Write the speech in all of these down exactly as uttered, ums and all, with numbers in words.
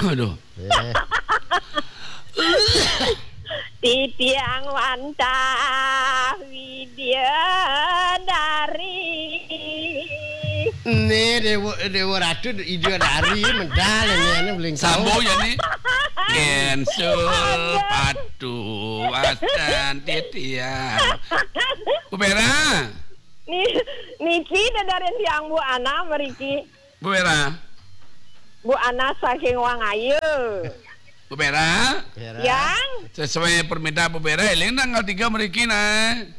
Aduh. Eh. Titiang wantah widyadari. Né Déwa, Déwa Ratu widyadari medal ini anu bling. Sambung ya, nih. Gensul patu wasan titiang. Bu Vera. Ni-, niki dedarin tiang Bu Ana mriki. Bu Vera. Bu Ana saking Wangaya. Bu Vera. Vera. Yang. Sesuai permintaan Bu Vera, éling tanggal tiga mriki, nah.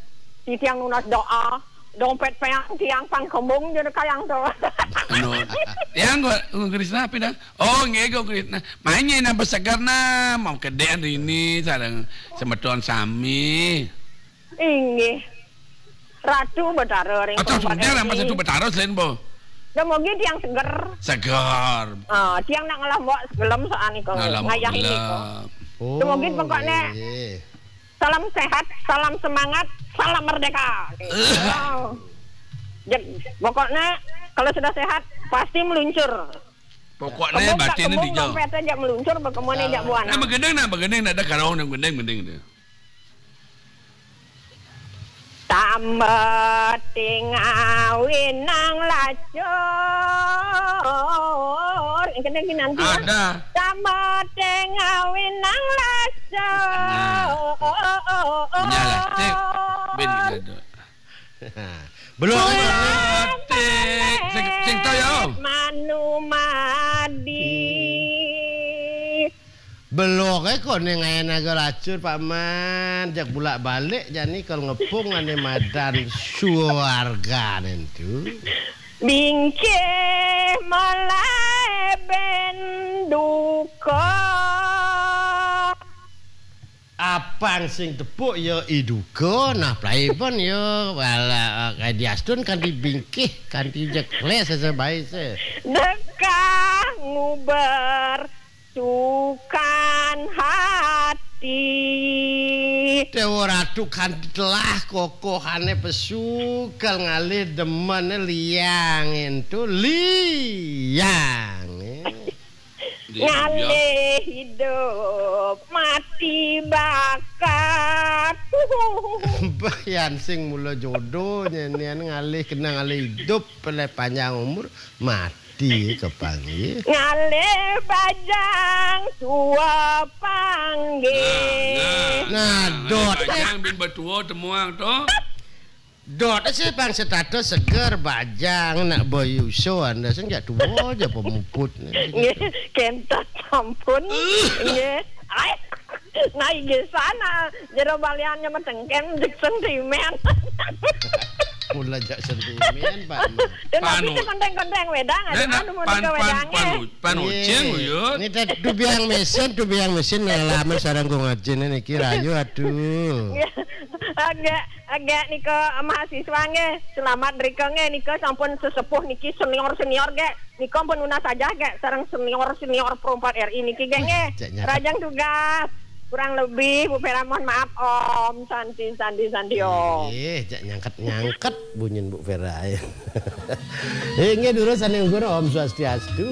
Titiang nunas doa. Dompet péang tiang pang kembung jadi kayang to. Anu, yang gua, gua Krisna apa dah? Oh, nggih, gua Krisna. Mainnya nambah seger, nah. Mau gedéan ini, sareng semeton sami. Inggih. Ratu Betara ring Atau perempat sebentar, yang Ratu Betara selain, Bu. Dumugi tiang seger. Seger. Ah, tiang nak ngelah mbok segelem soal niku. Ngelah mbok ngayah ini kok. Gelem. Dumugi pokoknya nggih. Salam sehat, salam semangat, salam merdeka. Gitu. Jek, pokoknya kalau sudah sehat pasti meluncur. Pokoknya kembung tak batin kembung dijauh. Dompet aja meluncur, bagaimana aja buana. Nah, begendeng nah, begendeng nah, ada karong yang gendeng, gendeng dia. Tambeting awinang lacur. Yang kena nanti ya. Ada. Tambeting awinang lacur. Nah. Nyalah, cek. Ben gila tu. Belum. Cek. Sing, sing tahu ya. Manumadi. Beloké koné ngaé naga lacur, Pak Man. Jak bulak-balik jani kal ngepung ané madan suargané tu. Bingkih malaé ben duka. Apang sing tepuk ya iduka, nah plaipun ya wala, eh, diastun kanthi bingkih, kanthi jekles sesebaé se. Dekah nguber sukan hati. Déwa Ratu kanthi telah kokohané pesu kal ngalih demené liang éntu liang. Ngalih hidup mati bakat. Mbah Yan sing mula jodoh nyenian ngalih kena ngalih hidup peleh panjang umur mati kepanggih. Ngalih bajang tua panggih. Nah, nah, nah, dot. Ngalih bajang bin betua temuang tu. Dot sih bang setato seger bajang nak boyuso anda sing jak tua aja pemuput. Nggih, kentat sampun. Nggih. Ai. Nah, inggih sana. Jero baliannya metengken jek sentimen. Mula jak sentimen, Pak. Dan tapi konteng-konteng wedang, ada anu mau pan, ke pan, wedangnya. Panu, panu, cing, uyut. Ini teh tubiang mesin, tubiang mesin ngalaman sarang kong ajin niki rayu, aduh. Agak, agak nika mahasiswa nggih. Selamat rika nggih nika sampun sesepuh niki senior-senior nggih. Nika pun nunas aja gak sareng senior-senior Pro empat R I niki gak nggih. Rajang tugas. Kurang lebih Bu Vera mohon maaf Om. Santi, santi, santi Om. Eh, cak nyangket-nyangket bunyin Bu Vera. Eh, nggih durus sané nggur Om Swastiastu.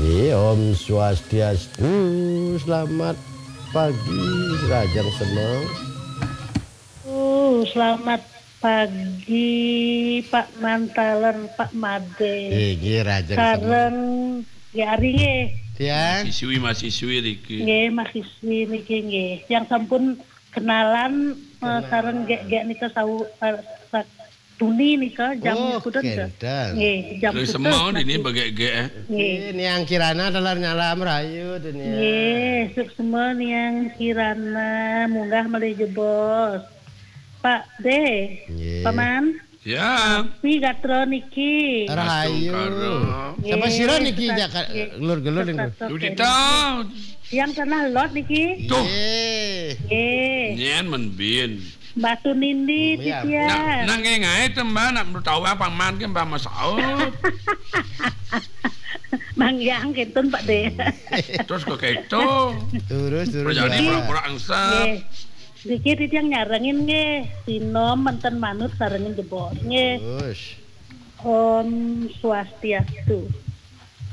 Nggih, Om Swastiastu. Selamat pagi, Rajang Semeng. Oh, selamat pagi, Pak Mantaler, Pak Made. Nggih, nggih, Rajang Semeng. Sareng Gé Ari nggih. Tiang. Mahasiswi, mahasiswi niki. Nggih, mahasiswi niki nggih. Yang sampun kenalan, eh, sareng Gé, Gé nika sau, eh, sa-, Tuni nika jam Oh, kudun ke? Nggih, jam terus kudun semua ini masih. Bagek-gek, eh. Nggih. Nggih, Niang Kirana dalar nyalam rayu tu Niang. Nggih, suksma Niang Kirana munggah malih jebos. Pak Dé, nggih. Paman. Ya. Pi gatra niki. Rahayu. Astungkara. Nggih, sapa sira niki sehat, jak ka-, nggih. Gelur-gelur niku. Sehat, Dudita. Yang tanah lot niki. Tuh. Nggih. Nggih. Nyen men bin. Batu nindi. Hmm, iya. Titiang. Nak, nak ngengai tembang, nak menurut tahu apa man ke Mbah Masaud. Yang, yang kenten, Pak De. Terus kok keto? Terus terus. Perjani Ya. pura-pura angsap. Nggih. Niki titiang nyarengin nggih, sinom menten manut sarengin jebos nggih. Terus. Om Swastiastu.